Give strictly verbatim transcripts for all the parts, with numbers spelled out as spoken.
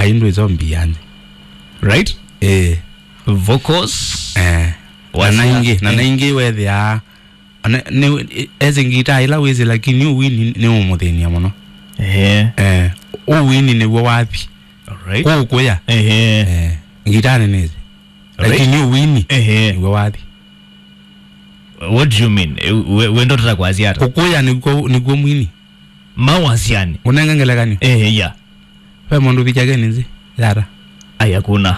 Indũ ĩzo mbianzi. Right? Eh. Vocals. Eh. Na Wasia. Naingĩ, na Eh. Naingĩ wethĩaa. Ana, nĩ, esi ngitaa ĩla wĩsĩ, lakini ũwini nĩ ũmũthĩnia mũno. Eh. Eh. Ũwini nĩw'o wathi. Alright. Kũkũya. Eh. Eh. Ngitaa nĩnĩsĩ. Right. Lakini ũwini Eh. Nĩw'o wathi. What do you mean? Eh, we, we ndo tata kwasya ata? Kũkũya nĩkw'o, nĩkw'o mwini. Mawasiani. Ũnenge ngelekany'o. Eh, yeah. Ve mũndũ vichake nĩnzi yata. Aya kuna.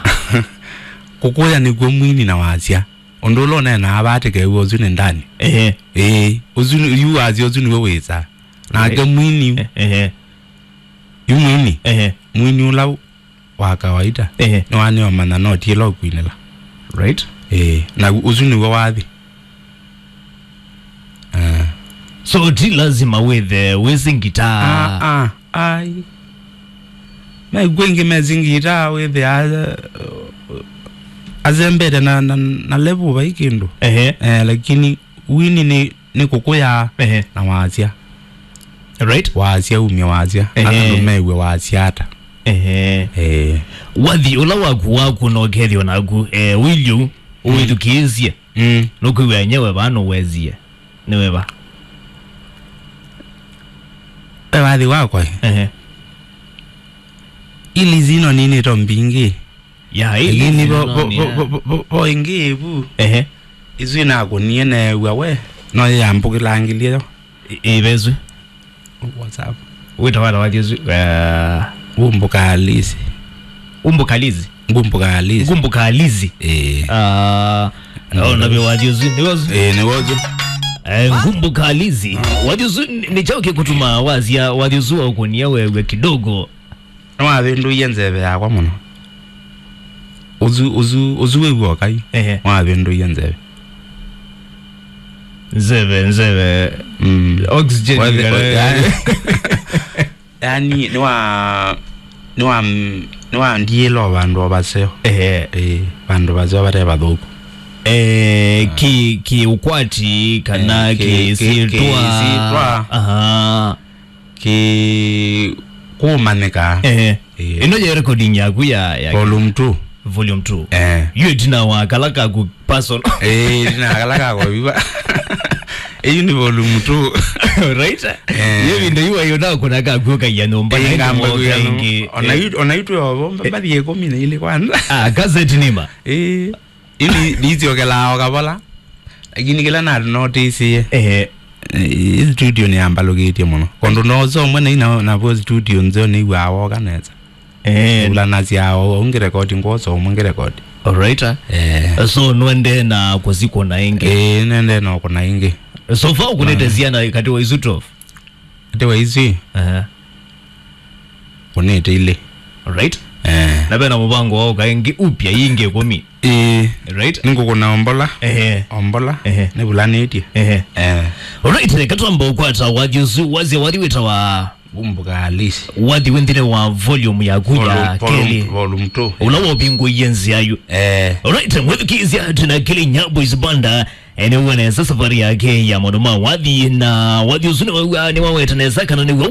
Kũkũya nĩkw'o mwini na wasya. Ũndũ ũla ũneenaa vaa tĩkew'a ũsu nĩ ndani. Ehe. Ĩĩ, ũsu nĩ, yu wasya ũsu nĩwe wĩsaa. Nake Right. Mwini, Eh, ehe. Yu mwini. Ehe. Mwini ũla wa kawaida. Ehe. Nĩwanĩomanya no ti ĩla ũkwinĩla. Right. Ĩĩ, na ũsu nĩw'o wathi. Ah. So ti lazima wĩthe wĩsĩ ngitaa. Ah, ah, ai. Maikw'e ingĩ mesĩ ngitaa wĩthĩa a-, azembete na, na, na level vai kĩndũ. Ehe. Eh, lakini wini nĩ, nĩ kũkũya Ehe. Na wasya. Right. Wasya umya wasya. Ehe. Andũ mew'e wasya ata. Ehe. Eh. Wathi ũla waku waku na ũkethĩwa naku, eh, wĩlyu ũwĩthukĩĩsye. Mm. Nũkwĩw'a enyewe vaa nũwesie. Nĩ weva. Ve wathi wakwa. Ehe. Ili zino nini to mbingi. Ya, ili Lakini zino vo, vo, ni vo, ya. Vo, vo, vo, vo ingi ivu. Ehe. Isu inakũnie neew'a we. No yambũkĩlangĩlye yo. I-, ivesu. WhatsApp. Wĩta wala wathi ũsu, eh, Ngumbuka Alizi. Ngumbuka Alizi? Ngumbuka Alizi. Ngumbuka Alizi. Eh. Ah, Ndio. Oh, na vyo wathi ũsu, nĩ ũsu? Eh, nĩ ũsu. Eh, Ngumbuka Alizi. Wathi ũsu nĩ, nĩ kyaũ kĩkũtuma wasya wathi ũsu wa ũkũnia wewe kidogo? Nĩwavĩndũie nzeve yakwa mũno. Ũsu, ũsu, ũsu wĩw'a ũkai. Ehe. Nĩwavĩndũie nzeve. Nzeve, nzeve. Mm. Oxygen Wethe-, kana yani, yani, nĩwa, nĩwa, nĩwandiĩla o vandũ o vaseo. Ehe. Ĩĩ, vandũ vaseo vate vathũku. Eh, ki, ki ũkwati kana Eh, ki, ki, ki, syĩtwa. Ki syĩtwa. Aha. Ki kũmanyĩka. Ehe. Ĩĩ. Ĩno ye recording yaku ya, ya Volume two. Volume two. Eh. Yu ĩtina wa kala kaku personal. Eh, ĩtina wa kala kaku viva. Ĩyu nĩ volume two. Right? Eh. Ye vinda yu ayo na kuna kaku kaya nyumba na ngamba ĩno kuyanu. Ĩngĩ. Ona Eh. Yu, ona yu tu ovo, mbathi ikũmi na ilĩ kwanza. Ah, cassette nima. Eh. Ili ndisyokela o kavola. Lakini kĩla na notice. Ehe. Eh, studio nĩyambalũkĩtye mũno. Kũndũ nosa ũmwe na ina navo studio nzeo nĩw'aa woka nesa. Eh. Ulanasya o ngĩrekodi ngwosa ũmwe ngĩrekodi. Alright. Eh. So nwende na kũsikũna ĩngĩ. Eh, nende no kũna ĩngĩ. So far ũkũnĩte syana katĩ wa isu twelve? Katĩ wa isu. Aha. Kũnĩte ilĩ. Right. Eh. Na vena mũvango wa ũka ĩngĩ upya ingĩ ĩkũmi. Ĩĩ. Right. Nĩngũkũna ombola. Ehe. Ombola. Ehe. Nĩvulanĩtye. Ehe. Eh. Right, katwamba ũkwata wathi ũsu, wasya wathi wĩtawa Ngumbuka Alizi. Wathi wĩ nthĩnĩ wa volume yaku ya Volume, volume, kelĩ. Volume two. Ũla wovingũie nzĩa yu. Eh. Right, mwĩthukĩĩsya twĩna Kĩlĩnya Boys Banda. Eh, nĩw'o nesa safari yake ya maũndũ ma wathi, na wathi ũsu nĩwaw'a, nĩwaweta nesa kana nĩw'o